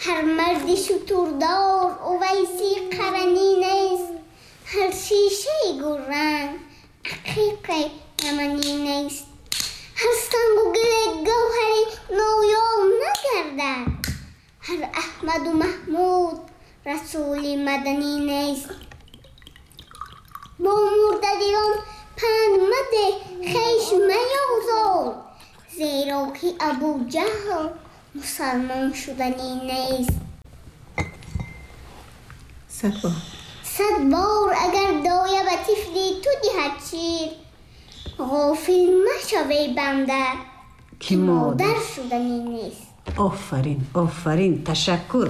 Ҳар марди шутурдор Увайси Қаранӣ нест. Ҳар шишаи гулранг ақиқи яманӣ нест. Ҳар сангу гили гавҳари ноёб нагардад. Ҳар Аҳмаду Маҳмуд расули маданӣ нест. Бо мурдадилон панд мадеҳ, хеш маёзор, зеро ки Абуҷаҳл мусалмон шуданӣ нест. 100 бор. 100 бор агар доя ба тифли ту диҳад шир, ғофил машав, эй банда, ки модар шуданӣ нест. Офарин, офарин, ташаккур,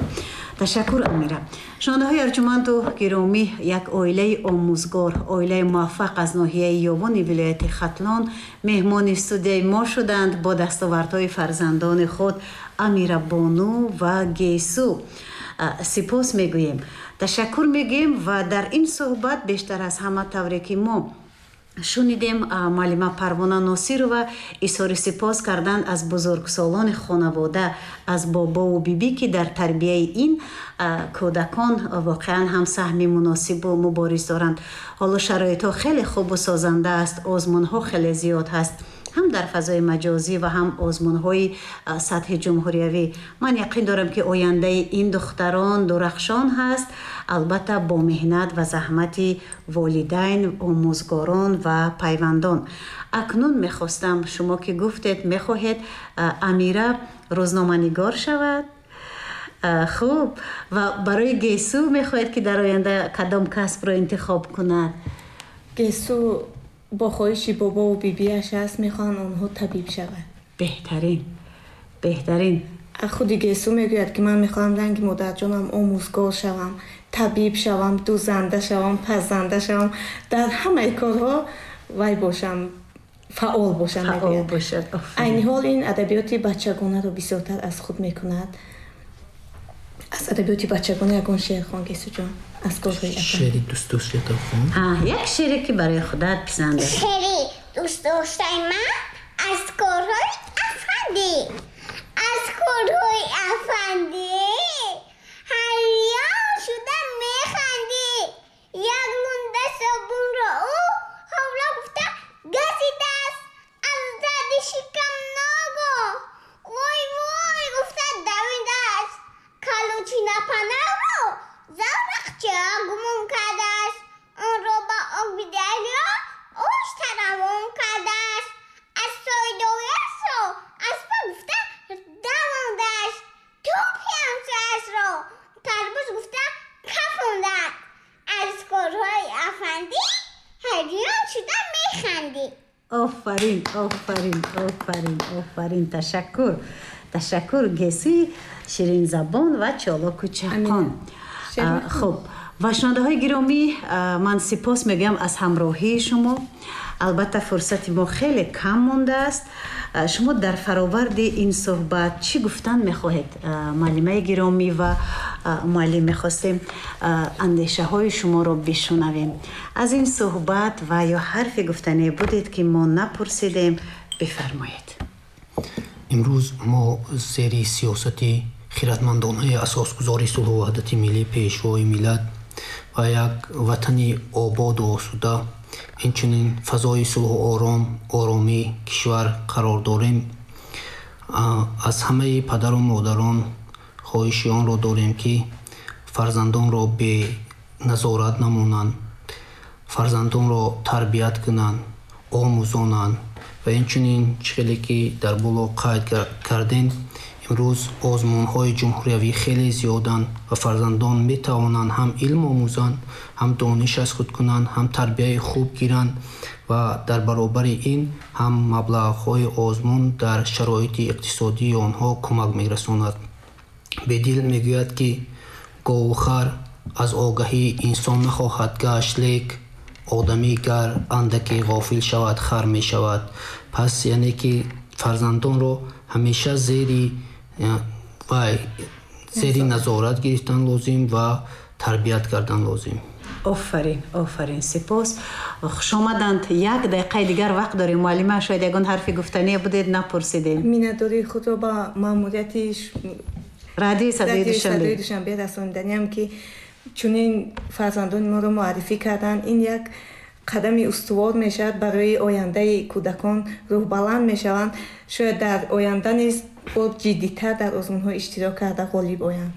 ташаккур, Амира. Шунавандаҳои арҷуманду гиромӣ, як оилаи омӯзгор, оилаи муваффақ аз ноҳияи Ёвони вилояти Хатлон меҳмони студияи мо шуданд бо дастовардҳои фарзандони худ Амирабону ва Гесу. Сипос мегӯем, ташаккур мегӯем. Ва дар ин суҳбат бештар аз ҳама, тавре ки мо шунидем, муаллима Парвона Носирова изҳори сипос карданд аз бузургсолони хонавода, аз бобову бибӣ, ки дар тарбияи ин кӯдакон воқеан ҳам саҳми муносибу мубориз доранд. Ҳоло шароитҳо хеле хубу созанда аст, озмунҳо хеле зиёд ҳаст, ҳам дар фазои маҷозӣ ва ҳам озмунҳои сатҳи ҷумҳуриявӣ. Ман яқин дорам, ки ояндаи ин духтарон дурахшон ҳаст, албатта бо меҳнат ва заҳмати волидайн, омӯзгорон ва пайвандон. Акнун мехостам, шумо ки гуфтед, мехоҳед Амира рӯзноманигор шавад, хуб, ва барои Гесу мехоҳед, ки дар оянда кадом касбро интихоб кунад? Гесу бо хоҳиши бобову бибиаш аст, мехоҳанд онҳо табиб шавад. Беҳтарин, беҳтарин. Худи Гесу мегӯяд, ки ман мехоҳам ранги модарҷонам омӯзгор шавам, табиб шавам, дӯзанда шавам, пазанда шавам, дар ҳамаи корҳо вай бошам, фаъол бошам. Фаъол бошад. Айни ҳол ин адабиёти бачагонаро бисёртар аз худ мекунад. Аз адабиёти бачагона ягон шеър хон, Гесуҷон, аз корҳои. Шеъри дӯстдоштаата хон. Як шеъре, ки барои худат писанд аст. Шеъри дӯстдоштаи ман аз корҳои афандӣ. Аз корҳои афандӣ ҳайрон шуда механдӣ. Як лунда собунро ӯ ҳовла гуфта газидааст. Аз дарди шикам ногоҳ вой вой гуфта давидааст. Калучина панавро заврақча гумон кардааст, онро ба оби дарё оҳиста равон кардааст. Аз сойдояшро аспа гуфта давондааст. Тӯпи ҳамсояшро тарбуз гуфта кафондааст. Аз корҳои афандӣ ҳайрон шуда механдӣ. Офарин, офарин, офарин, офарин, ташаккур, ташаккур, Гесуи ширинзабон ва чолоку чақон. Хуб, ва шунавандаҳои гиромӣ, ман сипос мегӯям аз ҳамроҳии шумо. Албатта, фурсати мо хеле кам мондааст. Шумо дар фароварди ин суҳбат чӣ гуфтан мехоҳед, муаллимаи гиромӣ ва муаллим? Мехостем андешаҳои шуморо бишунавем аз ин суҳбат ва ё ҳарфе гуфтане будед, ки мо напурсидем, бифармоед. Имрӯз мо зери сиёсати хиратмандонаи асосгузори сулҳу ваҳдати миллӣ, Пешвои миллат ва як ватани ободу осуда, инчунин фазои сулҳу оромии кишвар қарор дорем. Аз ҳамаи падару модарон хоҳиши онро дорем, ки фарзандонро беназорат намонанд, фарзандонро тарбият кунанд, омӯзонанд. Ва инчунин, чӣ хеле ки дар боло қайд кардем, имрӯз озмунҳои ҷумҳуриявӣ хеле зиёданд ва фарзандон метавонанд ҳам илм омӯзанд, ҳам дониш аз худ кунанд, ҳам тарбияи хуб гиранд ва дар баробари ин ҳам маблағҳои озмун дар шароити иқтисодии онҳо кӯмак мерасонад. Бедил мегӯяд, ки гову хар аз огаҳӣ инсон нахоҳад гашт, лек одамӣ гар андаке ғофил шавад, хар мешавад. Пас яъне ки фарзандонро ҳамеша зери вай, зери назорат гирифтан лозим ва тарбият кардан лозим. Офарин, офарин, сипос, хушомаданд. Як дақиқаи дигар вақт дорем, муаллима, шояд ягон ҳарфи гуфтание будед, напурсидем. Миннатдории худро ба маъмурияти Радиои Садои Душанбе. Душанбе расониданиам, ки чунин фарзандони моро муаррифӣ карданд. Ин як қадами устувор мешавад барои ояндаи кӯдакон, рӯҳбаланд мешаванд, шояд дар оянда низ бо ҷиддитар дар озмунҳо иштирок карда ғолиб оянд.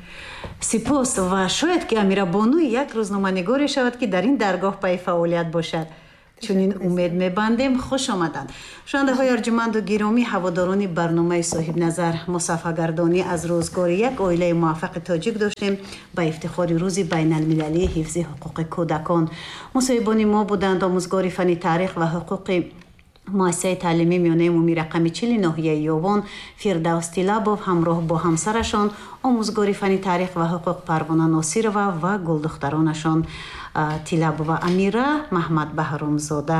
Сипос, ва шояд ки Амирабонуи як рӯзноманигоре шавад, ки дар ин даргоҳ пайи фаъолият бошад. Чунин умед мебандем. Хуш омаданд. Шунавандаҳои арҷуманду гиромӣ, ҳаводорони барномаи Соҳибназар, мо сафҳагардонӣ аз рӯзгори як оилаи муваффақи тоҷик доштем ба ифтихори Рӯзи байналмилалии ҳифзи ҳуқуқи кӯдакон. Мусоҳибони мо буданд омӯзгори фанни таърих ва ҳуқуқи муассисаи таълимии миёнаи умумии рақами 40 ноҳияи Ёвон Фирдавс Тилабов ҳамроҳ бо ҳамсарашон, омӯзгори фанни таърих ва ҳуқуқ Парвона Носирова ва гулдухтаронашон Тилабова Амира, Маҳмад Баҳромзода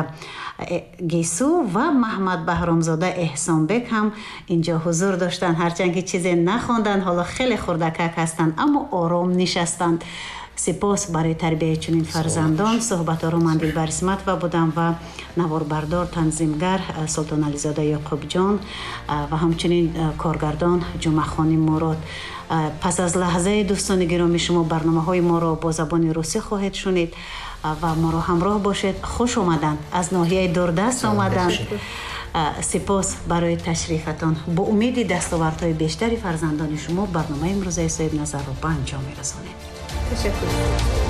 Гесу ва Маҳмад Баҳромзода Эҳсонбек ҳам инҷо ҳузур доштанд. Ҳарчанд ки чизе нахонданд, ҳоло хеле хурдакак ҳастанд, аммо ором нишастанд. Сипос барои тарбияи чунин фарзандон. Суҳбатҳоро ман Дилбар Исматова будам ва наворбардор, танзимгар Султонализода Ёқубҷон ва ҳамчунин коргардон Ҷумъахони Мурод. Пас аз лаҳзаи, дӯстони гиромӣ, шумо барномаҳои моро бо забони русӣ хоҳед шунид ва моро ҳамроҳ бошед. Хуш омаданд, аз ноҳияи дурдаст омаданд. Сипос барои ташрифатон. Бо умеди дастовардҳои бештари фарзандони шумо барномаи имрӯзаи Соҳибназарро ба анҷом мерасонем. Ташаккур.